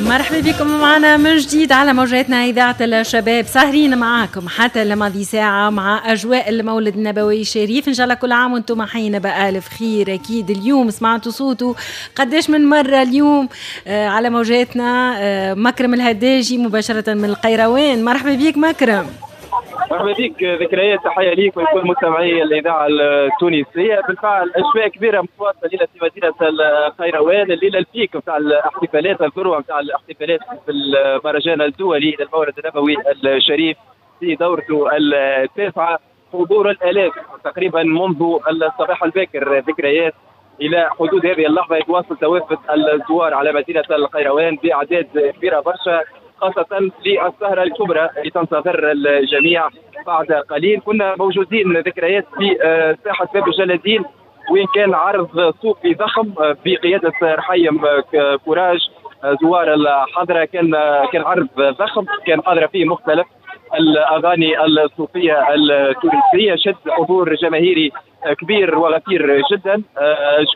مرحبا بكم معنا من جديد على موجاتنا إذاعة الشباب، سهرين معاكم حتى لماضي ساعة مع أجواء المولد النبوي الشريف. إن شاء الله كل عام وانتم حيين بألف خير. أكيد اليوم سمعتوا صوته قداش من مرة اليوم على موجاتنا، مكرم الهداجي مباشرة من القيروان. مرحبا بك مكرم. مرحبا بك ذكريات، تحية ليك ولكل مستمعي الاذاعة التونسية. بالفعل اجواء كبيرة متواصلة ليلة في مدينة القيروان، الليلة ال pic نتاع الاحتفالات، الذروة نتاع الاحتفالات في المهرجان الدولي للمولد النبوي الشريف في دورته التاسعة. حضور الالاف تقريبا منذ الصباح الباكر ذكريات الى حدود هذه اللحظة يتواصل توافد الزوار على مدينة القيروان باعداد كبيرة برشا، خاصة للسهرة الكبرى اللي تنتظر الجميع بعد قليل. كنا موجودين ذكريات في ساحة باب الجلادين وين كان عرض صوفي ضخم بقيادة رحيم كوراج زوار الحضرة. كان عرض ضخم كان حاضرة فيه مختلف الأغاني الصوفية التونسية، شد حضور جماهيري كبير وغفير جدا.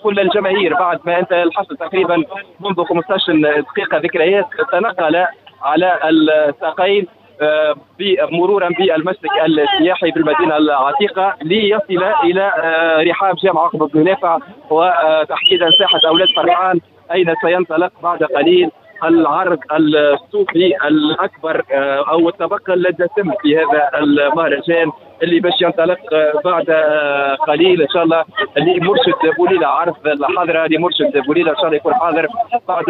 كل الجماهير بعد ما انتهى الحفل تقريبا منذ 15 دقيقة ذكريات تنقل على الساقين مرورا بالمسلك السياحي بالمدينة العتيقة ليصل الى رحاب جامع عقبه بن نافع وتحديدا ساحة اولاد فرحان، اين سينطلق بعد قليل العرض الصوفي الاكبر او الطبق الدسم في هذا المهرجان اللي باش ينطلق بعد قليل ان شاء الله. لمرشد بوليله، عرض الحاضرة لمرشد بوليله ان شاء الله يكون حاضر بعد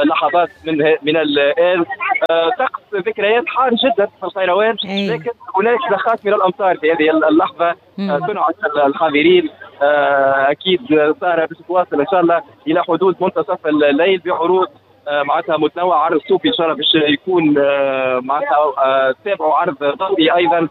لحظات من الان. طقس ذكريات حار جدا في القيروان، لكن هناك زخات من الامطار في هذه اللحظة تنعش الحاضرين. اكيد سهره باش تواصل ان شاء الله الى حدود منتصف الليل بعروض معناتها متنوع. عرض صوفي ان شاء الله باش يكون معناتها تابعوا عرض ضوئي ايضا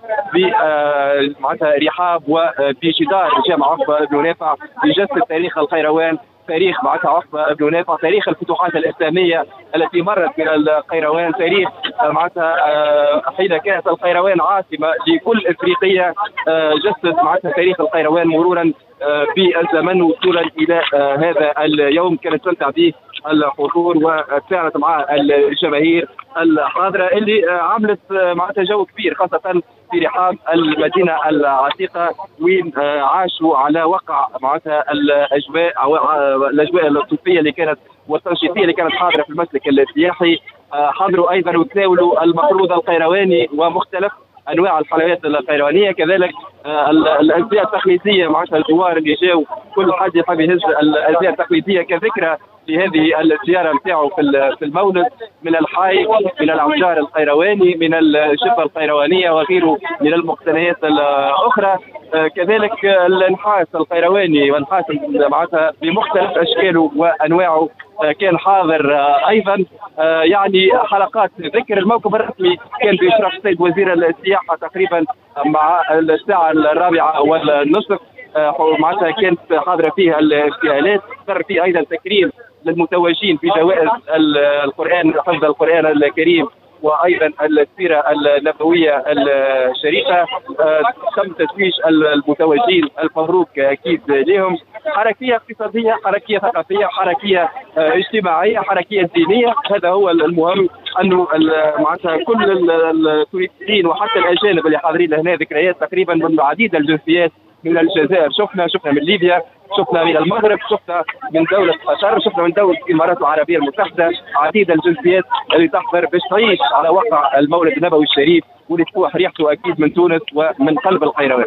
معناتها رحاب وبجدار جامع عقبه بن نافع يجسد تاريخ القيروان، تاريخ معناتها عقبه بن نافع، تاريخ الفتوحات الاسلامية التي مرت من القيروان، تاريخ معناتها حين كانت القيروان عاصمة لكل افريقية، جسد معناتها تاريخ القيروان مرورا بالزمن وصولا الى هذا اليوم كانت تستمتع به الحضور وتفاعلت مع الجماهير الحاضرة اللي عملت معناتها جو كبير خاصة في رحاب المدينة العتيقة وين عاشوا على وقع معناتها الاجواء الصوفية اللي كانت والتنشيطيه اللي كانت حاضره في المسلك السياحي. حضروا ايضا وتناولوا المقروض القيرواني ومختلف انواع الحلويات القيروانيه، كذلك الازياء التقليدية معناتها الزوار اللي جاوا كل حد يحب يهز الازياء التقليدية كذكرى لهذه الزيارة نتاعو في المولد، من الحايك، من العجار القيرواني، من الجبة القيروانيه وغيره من المقتنيات الاخرى. كذلك النحاس القيرواني والنحاس معناتها بمختلف اشكاله وانواعه كان حاضر ايضا. يعني حلقات ذكر الموكب الرسمي كان باشراف السيد وزير السياحة تقريبا مع الساعة 4:15، معناتها كانت حاضره فيها الابتهالات. صار فيه ايضا تكريم للمتوجين بجوائز القران، حفظ القران الكريم وايضا السيرة النبوية الشريفة. تم تتويج المتوجين، المبروك اكيد لهم. حركية اقتصادية، حركية ثقافية، حركية اجتماعية، حركية دينية. هذا هو المهم، انه معناتها كل التونسيين وحتى الاجانب اللي حاضرين هنا ذكريات تقريبا من عديد الجنسيات، من الجزائر شفنا من ليبيا، شفنا من المغرب، شفنا من دولة قطر، شفنا من دولة الإمارات العربية المتحدة، عديد الجنسيات اللي تحضر باش تعيش على وقع المولد النبوي الشريف واللي تفوح ريحته اكيد من تونس ومن قلب القيروان.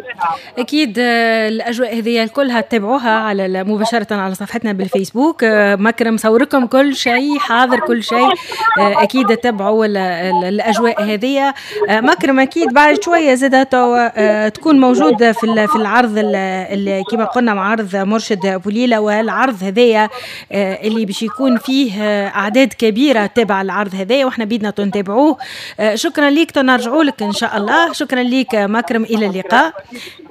اكيد الاجواء هذه كلها تتابعوها على مباشرة على صفحتنا بالفيسبوك. مكرم صوركم كل شيء حاضر، كل شيء اكيد تتابعوا الاجواء هذه. مكرم اكيد بعد شوية زاد تكون موجود في العرض اللي كما قلنا مع عرض مرشد بوليله، والعرض هذايا اللي باش يكون فيه اعداد كبيرة تابع العرض هذايا واحنا بيدنا نتابعوه. شكرا ليك، نرجعوا لك ان شاء الله. شكرا لك مكرم، الى اللقاء.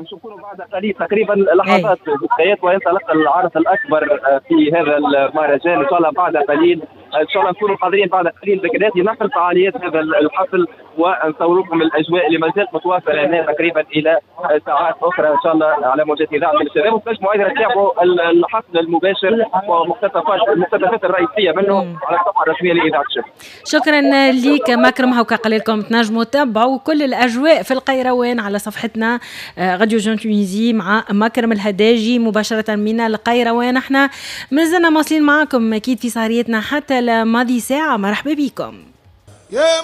نشوفكم بعد قليل تقريبا لحظات ذكريات وينطلق العرض الاكبر في هذا المهرجان ان شاء الله بعد قليل ان شاء الله نكونوا حاضرين بعد قليل ذكريات لنقل فعاليات هذا الحفل ونصور لكم الاجواء اللي ما زالت متواصلة هنا تقريبا الى ساعات اخرى ان شاء الله على موجات اذاعة الشباب. وتنجموا ايضا تتابعوا الحفل المباشر ومقتطفات المقتطفات الرئيسية منه على الصفحة الرسمية لاذاعة الشباب. شكرا لك مكرم. هوكا قال لكم تنجموا تتابعوا كل الاجواء في القيروان على صفحتنا Radio Jeune Tunisie مع مكرم الهداجي مباشرة من القيروان. احنا مازلنا مواصلين معكم اكيد في سهريتنا حتى لماضي ساعه. مرحبا بكم.